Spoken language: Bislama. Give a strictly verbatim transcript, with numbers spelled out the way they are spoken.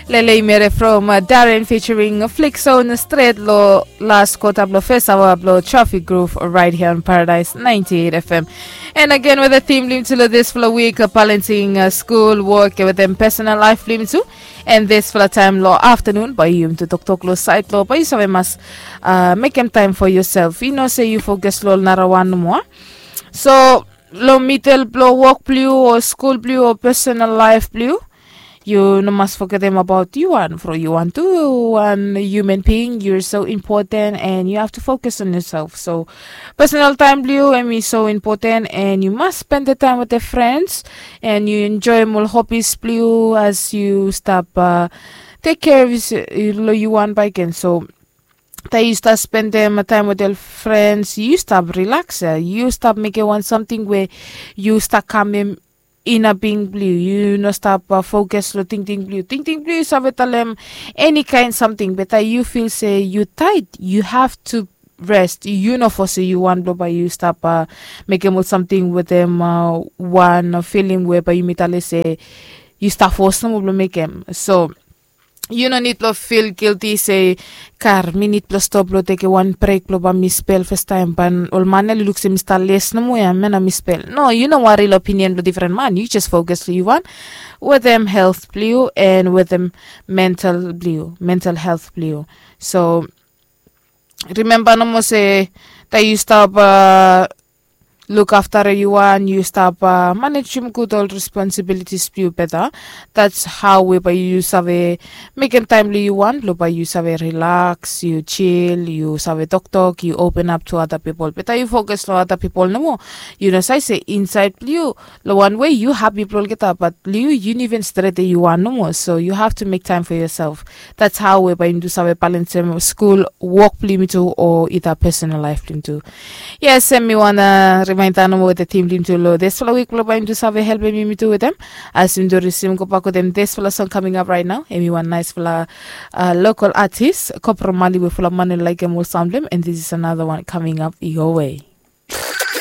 Lele imere from Darren featuring Flixon stret lo las kota blo fes awa blo Traffic Groove right here on Paradise ninety-eight F M. And again with the theme blim tu lo this fla week, uh, balancing uh, school work with them personal life blim tu. And this fla time lo afternoon by you to toktok lo side lo by you save mas uh, make him time for yourself. You know say you focus lo nara one more. So lo middle blo work blue or school blue or personal life blue. You no mas forget them about you and for you want to one human being. You're so important and you have to focus on yourself. So personal time blue and is so important and you must spend the time with the friends and you enjoy more hobbies blue as you stop uh, take care of you, you want by again. So tae yu stap spendem taem wetem frens yu stap rilaks ya, yu stap mekem wan samting we yu stap kamem ina bing blong yu. Yu no stap fokas long tingting blong yu. Tingting blong yu save talem eni kaen samting be taem yu fil se yu taet yu have tu res. Yu no fos se yu wan blong bae yu stap mekem ol samting wetem wan filing we bae yumi talem se yu stap fos nomo blong mekem. So yu no nid blong fil gilti se kar mi nid blong stop blong tekem wan brek blong bae mi spel fastaem bae ol man ya oli luk se mi stap les nomo ya me nao mi spel. No, yu no wari long opinion blong difren man, yu jes fokas long yu wan wetem helt blong yu en wetem mental blong yu, mental helt blong yu. So rimemba nomo se taem yu stap lukafta yu wan yu stap manejem gud ol responsibilitis blong yu beta. Dats hao we bae yu save mekem taem blong yu wan blong bae yu save rilaks, yu jil, yu save toktok, yu openap tu ada pipol. Beta yu fokas long ada pipol nomo. Yu no save se insaed blong yu long wan wei yu hapi blong olgeta bat blong yu yu no iven stret ya yu wan nomo. So yu have tu mek taem fo yuself. Dats hao we bae yumi tu save balensem skul wok blong yumi tu o ida pesonal laef blong yumi tu. Yes, em mi wan rimaenda nomo wetem tim blong yumi tu long dispela wik blong bae yumi tu save helpem yumi tu wetem as yumi tu risim gobak wetem dispela song kaming ap raet nao. Em mi wan naesfala lokal atis kopromali we fala man oli laekem ol sam blong em and this is anada wan kaming ap yowe.